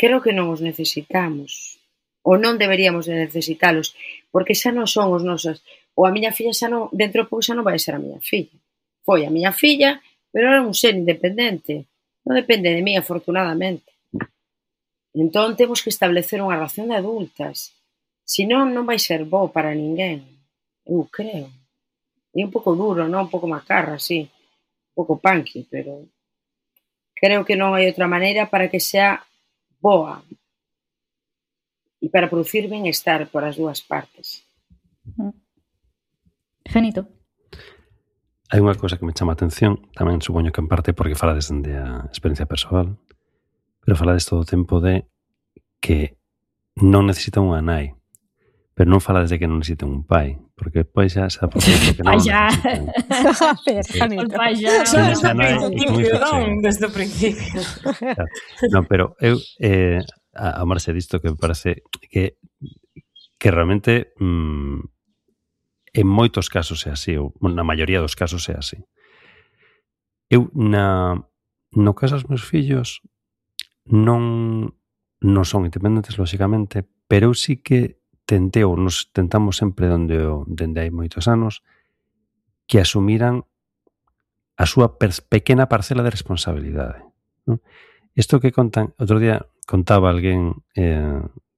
creo que non os necesitamos, ou non deberíamos de necesitalos, porque xa non son os nosos, ou a miña filla xa non, dentro de pouco xa non vai ser a miña filla. Foi a miña filla, pero era un ser independente, non depende de mí, afortunadamente. Entón temos que establecer unha relación de adultas, senón non vai ser bo para ninguén, eu creo. É un pouco duro, non? Un pouco macarra, sí, un pouco punky, pero creo que non hai outra maneira para que sea boa e para producir benestar por as dúas partes. Genito. Hai unha cousa que me chama a atención, tamén supoño que en parte porque falades de a experiencia persoal, pero falades todo o tempo de que non necesita unha nai, pero non falades de que non necesita un pai, porque depois xa se dá por certo que non necesitan. Desde o principio. Non, pero eu a marxe disto que me parece que realmente en moitos casos é así, ou na maioría dos casos é así. Eu no caso dos meus fillos non son independentes, lóxicamente, pero eu sí que tentei, ou nos tentamos sempre dende hai moitos anos, que asumiran a súa pequena parcela de responsabilidade. Non? Isto que contan, outro día contaba alguén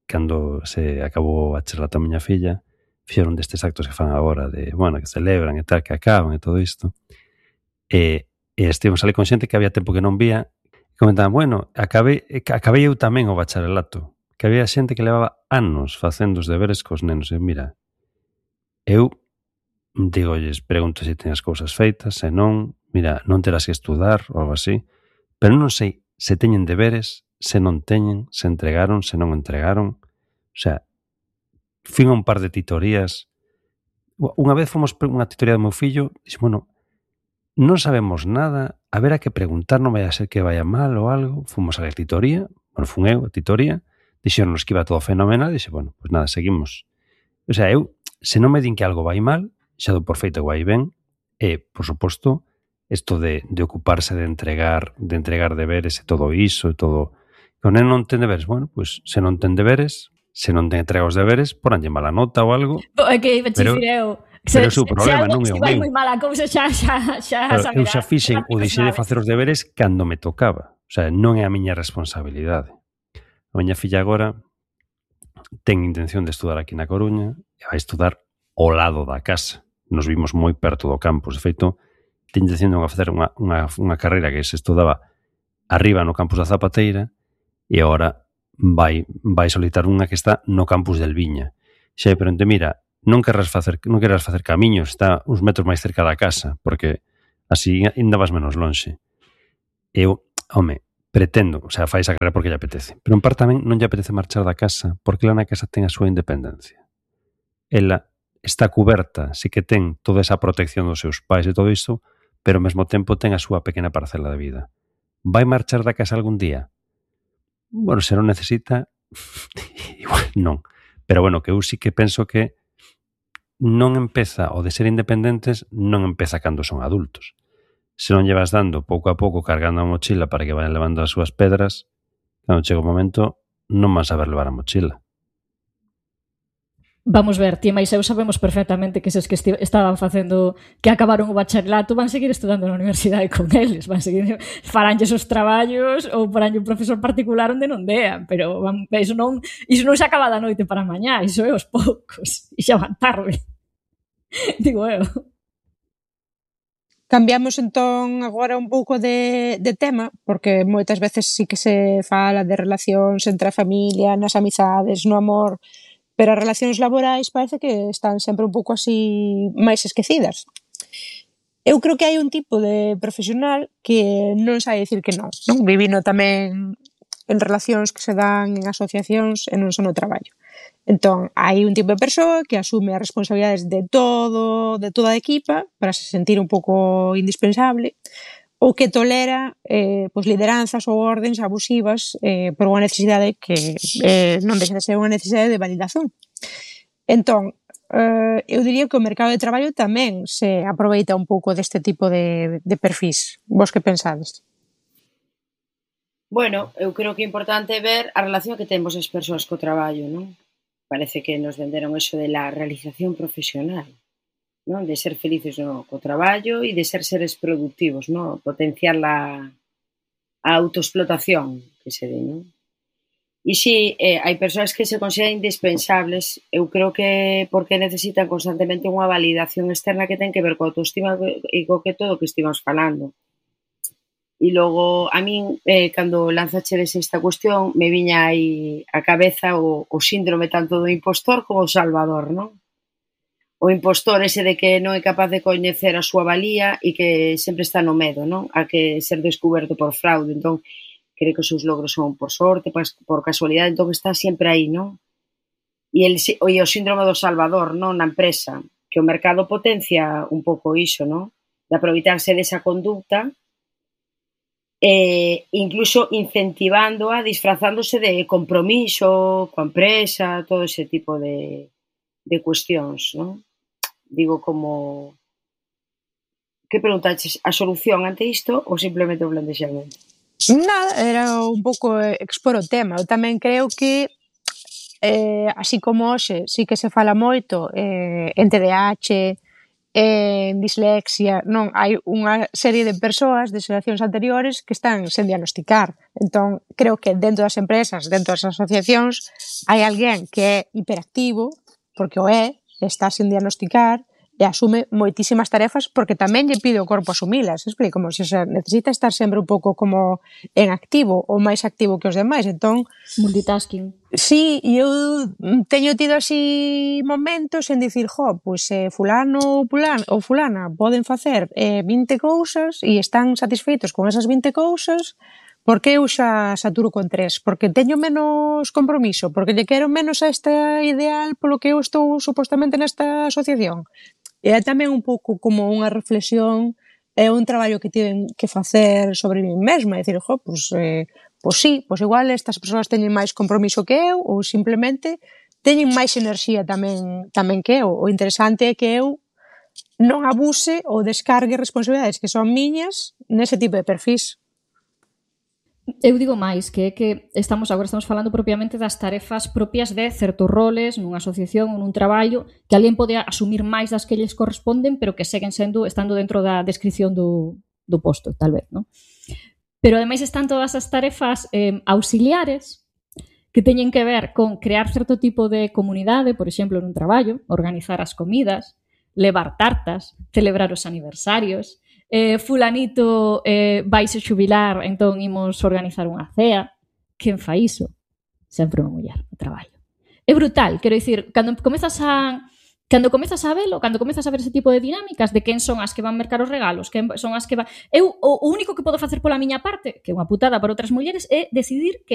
cando se acabou a charla da miña filla, fixeron destes actos que fan agora de, bueno, que celebran e tal, que acaban e todo isto, e estivemos ali con xente que había tempo que non vía, e comentaban, bueno, acabei eu tamén o bacharelato, que había xente que levaba anos facendo os deberes cos nenos, e mira, eu digolles, pregunto se ten as cousas feitas, se non, mira, non terás que estudar ou algo así, pero non sei se teñen deberes, se non teñen, se entregaron, se non entregaron. O sea, fin a un par de titorías. Unha vez fomos unha titoría do meu fillo, dixo, bueno, non sabemos nada, a ver a que preguntar, non vai a ser que vaya mal ou algo. Fomos a la titoría, bueno, fun eu a titoría, dixeronnos que iba todo fenomenal, e dixe, bueno, pues nada, seguimos. O sea, eu, se non me din que algo vai mal, xa do por feito que vai ben, e, por suposto, isto de ocuparse de entregar deberes e todo iso, e todo... Con el non ten deberes, bueno, pues se non ten deberes, se non ten entrega os deberes, poranlle mala nota ou algo. É que iba a dicir eu. Pero é o seu problema, non é o meu. Se vai moi mala cousa, xa saberá. Eu xa fixen o deixei de facer os deberes cando me tocaba. O sea, non é a miña responsabilidade. A miña filla agora ten intención de estudar aquí na Coruña e vai estudar ao lado da casa. Nos vimos moi perto do campus. De feito, ten intención de facer unha carreira que se estudaba arriba no campus da Zapateira e agora vai solicitar unha que está no campus del Viña. Xa, pero mira, non querrás facer camiños, está uns metros máis cerca da casa, porque así ainda vas menos lonxe. Eu, pretendo, o sea, fai esa carreira porque lle apetece, pero en parte tamén non lle apetece marchar da casa, porque lá na casa ten a súa independencia. Ela está cuberta, sí que ten toda esa protección dos seus pais e todo iso, pero ao mesmo tempo ten a súa pequena parcela de vida. Vai marchar da casa algún día? Bueno, se non necesita, igual non. Pero bueno, que eu sí que penso que non empeza, o de ser independentes, non empeza cando son adultos. Se non llevas dando pouco a pouco cargando a mochila para que vayan levando as súas pedras, cando chega o momento, non van saber levar a mochila. Vamos ver, ti e máis eu sabemos perfectamente que eses que estaban facendo, que acabaron o bacharelato, van seguir estudando na universidade con eles, van seguir, faranlles os traballos ou faranlle un profesor particular onde non dean, pero iso non se acaba da noite para mañá, iso é os poucos, e xa van tarde. Digo eu. Cambiamos entón agora un pouco de tema, porque moitas veces sí que se fala de relacións entre a familia, nas amizades, no amor, pero as relacións laborais parece que están sempre un pouco así máis esquecidas. Eu creo que hai un tipo de profesional que non sabe dicir que non. Vivino tamén en relacións que se dan en asociacións e non son no traballo. Entón, hai un tipo de persoa que asume as responsabilidades de toda a equipa para se sentir un pouco indispensable, ou que tolera lideranzas ou ordens abusivas por unha necesidade que non deixa de ser unha necesidade de validación. Entón, eu diría que o mercado de traballo tamén se aproveita un pouco deste tipo de perfis. Vos que pensades? Bueno, eu creo que é importante ver a relación que temos as persoas co traballo, non? Parece que nos venderon eso de la realización profesional, non? De ser felices co traballo e de ser seres productivos, non? Potenciar a autoexplotación, que se di, non? E si, hai persoas que se consideran indispensables, eu creo que porque necesitan constantemente unha validación externa que ten que ver coa autoestima e co que todo o que estivamos falando. E logo, a min, cando lanzachedes esta cuestión, me viña aí a cabeza o síndrome tanto do impostor como do salvador, non? O impostor ese de que non é capaz de coñecer a súa valía e que sempre está no medo, non? A que ser descuberto por fraude, entón, cree que os seus logros son por sorte, por casualidade, entón está sempre aí, non? E o síndrome do salvador, non? Na empresa, que o mercado potencia un pouco iso, non? De aproveitarse desa conducta, incluso incentivándoa, disfrazándose de compromiso coa empresa, todo ese tipo de cuestións, non? Digo como... Que preguntaches? A solución ante isto ou simplemente o plantexamento? Nada, era un pouco expor o tema. Eu tamén creo que así como hoxe sí que se fala moito en TDAH, en dislexia, non, hai unha serie de persoas de xeracións anteriores que están sen diagnosticar. Entón, creo que dentro das empresas, dentro das asociacións, hai alguén que é hiperactivo, porque o está sen diagnosticar, e asume moitísimas tarefas porque tamén lle pide o corpo asumilas, explico, como se necesita estar sempre un pouco como en activo ou máis activo que os demais, entón... Multitasking. Sí, e eu teño tido así momentos en dicir, pois fulano ou fulana poden facer 20 cousas e están satisfeitos con esas 20 cousas, porque eu xa saturo con 3, porque teño menos compromiso, porque lle quero menos a esta ideal polo que eu estou supostamente nesta asociación. E é tamén un pouco como unha reflexión, é un traballo que tiven que facer sobre mí mesma, é dicir, pois sí, pois igual estas persoas teñen máis compromiso que eu ou simplemente teñen máis enerxía tamén que eu. O interesante é que eu non abuse ou descargue responsabilidades que son miñas nese tipo de perfis. Eu digo máis, que é que agora estamos falando propiamente das tarefas propias de certos roles nunha asociación ou nun traballo que alguén pode asumir máis das que lles corresponden, pero que seguen estando dentro da descripción do posto, tal vez, non? Pero ademais están todas as tarefas auxiliares que teñen que ver con crear certo tipo de comunidade, por exemplo, nun traballo, organizar as comidas, levar tartas, celebrar os aniversarios, fulanito vaise xubilar, entón imos organizar unha cea. Quen fai iso? sempre unha muller no traballo. É brutal, quero dicir, cando comezas a velo, cando comezas a ver ese tipo de dinámicas de quen son as que van mercar os regalos, quen son as que van... Eu, o único que podo facer pola miña parte, que é unha putada para outras mulleres, é decidir que